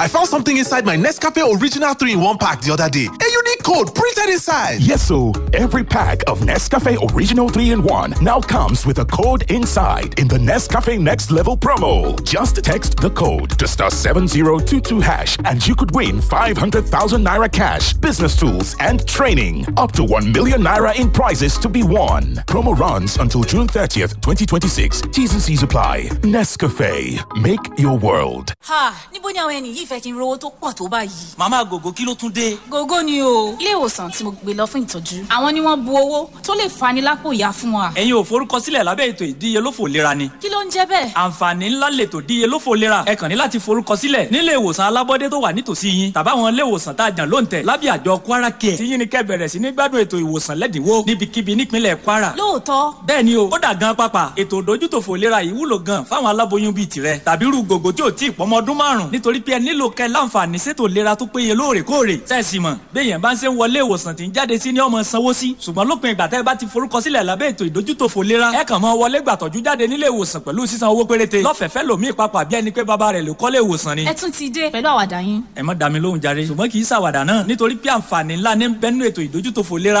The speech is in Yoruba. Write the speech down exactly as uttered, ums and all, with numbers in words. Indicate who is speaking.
Speaker 1: I found something inside my Nescafe Original three in one pack the other day. A unique code printed inside.
Speaker 2: Yes, so every pack of Nescafe Original three in one now comes with a code inside in the Nescafe Next Level promo. Just text the code to star seven zero two two hash and you could win five hundred thousand naira cash, business tools, and training. Up to one million naira in prizes to be won. Promo runs until June thirtieth, twenty twenty-six. T's and C's apply. Nescafe, make your world.
Speaker 3: Ha! Níbo ni àwọn ẹni yìí fẹ́ kí n rówó tó pọ̀ tó báyìí?
Speaker 4: Màmá Gògó, kí ló tún dé?
Speaker 3: Gógó ni o. Ilé ìwòsàn tí mo gbé lọ fún ìtọ́jú, àwọn ni wọ́n bu owó tó lè fani lápò ìyá fún wa.
Speaker 4: Ẹ̀yin ò forúkọsílẹ̀ lábẹ́ ètò ìdíyelófò ìlera ni?
Speaker 3: Kí ló ń jẹ́ bẹ́ẹ̀?
Speaker 4: Àǹfààní ńlá lètò ìdíyelófò ìlera. Ẹ kàn ní láti forúkọsílẹ̀ nílé ìwòsàn alábọ́dé tó wà nítòsí yín tàbáwọn ilé ìwòsàn tá a jàn lóǹtẹ̀ lábẹ́ àjọ Kwara Care. Tí yín ni kẹ́ bẹ̀rẹ̀ sí ní gbádùn ètò ìwòsàn lẹ́dínwó níbikíbi nípínlẹ̀ Kwara.
Speaker 3: Lóòótọ́?
Speaker 4: Bẹ́ẹ̀ ni o. Ó dà gan pápá. Ètò ìdójútòfò ìlera yìí wúlò gan fáwọn aláboyún bíi tirẹ̀ tàbí irú gògó tí ò tí ì pọ́mọ ọdún márùn-ún, nítorí pé ẹ nílò kẹ́ láǹfààní sétò ìlera tó péye lóòrèkóòrè. Sẹ́ẹ̀sì mọ̀ béèyàn bá ń ṣe ń wọlé ìwòsàn tí ń jáde sí ni ọmọ sanwó sí, ṣùgbọ́n lópin ìgbà tẹ́ ẹ bá ti forúkọsílẹ̀ lábẹ́ ètò ìdójútòfò ìlera, ẹ kàn mọ́ wọlé gbàtọ́jú jáde nílé ìwòsàn pẹ̀lú sísan owó péréte lọ́fẹ̀ẹ́fẹ́ lòmíì papà bí ẹni pé bàbá rẹ̀ ló kọ́lé ìwòsàn ni.
Speaker 3: Ẹ tún ti dé pẹ̀lú àwàdà yín.
Speaker 4: Ẹ má dá mi lóhùn jàre, ṣùgbọ́n kì í ṣàwàdà náà, nítorí pé àǹfààní ńlá ní bẹ́ẹ̀ nínú ètò ìdójútòfò ìlera.